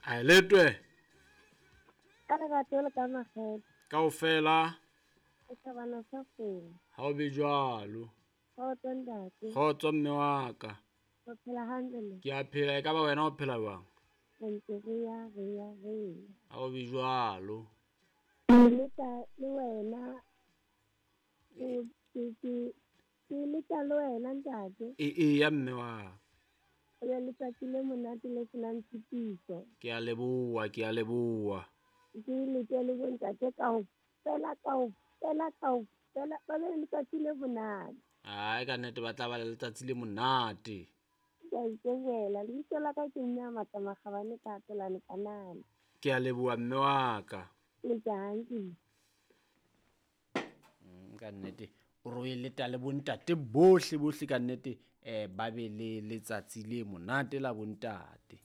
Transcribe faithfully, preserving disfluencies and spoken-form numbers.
A letwe. Ka lerato le ka makgethe. Kaofela. Setjhabana sa kgolo. Ha o be jwalo. Kgotso ntate. Kgotso mme wa ka. O phela hantle le? Ke a phela, e ka ba wena o phela jwang? Re ntse re ya, re ya, re ya. Ha o be jwalo. Ke leta le wena. Ke, ke, ke, ke leta le wena ntate. E, e ya mme wa ka. O be letsatsi le monate le senang tshitiso. Ke a leboha, ke a leboha. Ke lete le bontate kaofela, kaofela, kaofela, ba be le letsatsi le monate. Ai, ka nnete ba tla ba le letsatsi le monate. Ke a itebohela. Lebitso la ka ke mme a Matla Makgabane ka Tolane Kanana. Ke a leboha mme wa ka. Le jang? Mm, ka nnete o re o e leta le bontate bohle bohle ka nnete, eh, ba be le letsatsi le monate la bontate.